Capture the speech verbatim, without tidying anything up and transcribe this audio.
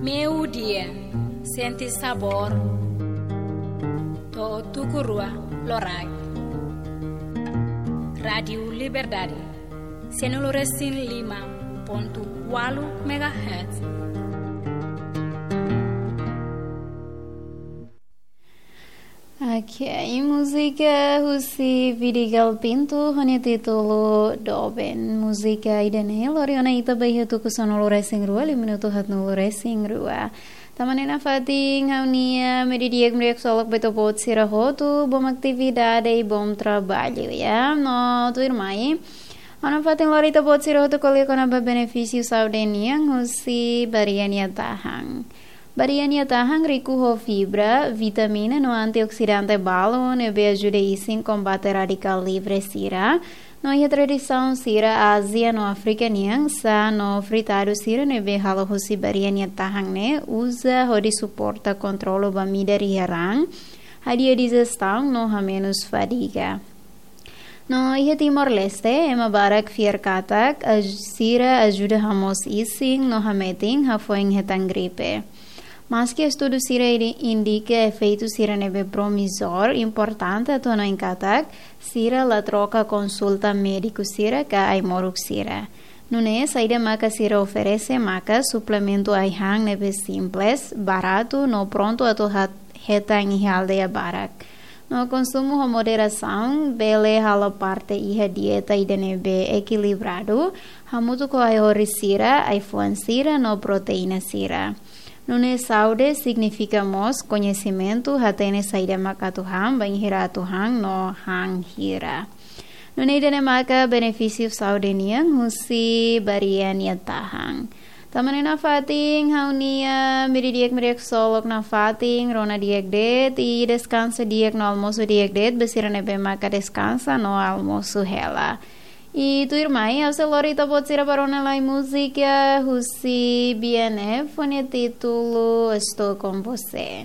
Meiudia, sente sabór. To'o tuku rua loraik. Rádiu Liberdade, sanulu-resin-lima pontu ualu megahertz. Oke, múzika husi Vidigal Pinto, ho nia títulu Doben. Múzika ida-ne'e lori ona ita ba iha tuku sanulu-resin-rua, liu minutu haatnulu-resin-rua. Tanba ne'e nafatin ha'u-nia media di'ak hamriik ksolok ba ita-boot sira hotu, bom atividade i bom traballu, ya. No tuirmai, ha'u nafatin lori ita-boot sira hotu ko'alia kona-ba benefísiu saúde nian husi bariia nia tahan. Bariia nia tahan riku ho fibra, vitamina no antioksidante balu ne'ebé ajuda isin kombate radikál livre sira. No iha tradisaun sira Ázia no Áfrika nian, sá no fritadu sira ne'ebé halo husi bariia nia tahan ne'e uza hodi suporta kontrolu ba midar iha raan, hadi'a dijestaun no hamenus fadiga. No iha Timor-Leste, ema barak fiar katak aj-, sira ajuda hamoos isin no hametin hafoin hetan gripe. Maski estudu sira indi-, indika efeitu sira ne'ebé promizór, importante atu hanoin katak sira la troka konsulta médiku sira ka ai-moruk sira. Nune'e, saida maka sira oferese maka suplementu ai-han ne'ebé simples, baratu no prontu atu hat-, hetan iha aldeia barak. No konsumu ho moderasaun bele halo parte iha dieta ida ne'ebé ekilibradu, hamutuk ho ai-horis sira, ai-fuan sira no proteína sira. Nune'e saúde signifika mós koñesimentu, hatene saida mak atu han, bainhira atu han no han hira. Nune'e ida-ne'e maka benefísiu saúde nian husi bariia nia tahan. Tanba ne'e nafatin ha'u-nia media di'ak hamriik ksolok nafatin, rona di'ak de'it i deskansa di'ak no almosu di'ak de'it ba sira ne'ebé maka deskansa no almosu hela. I tuirmai, ha'u sei lori ita-boot sira ba rona lai múzika husi B N F ho nia títulu Estou Com Você.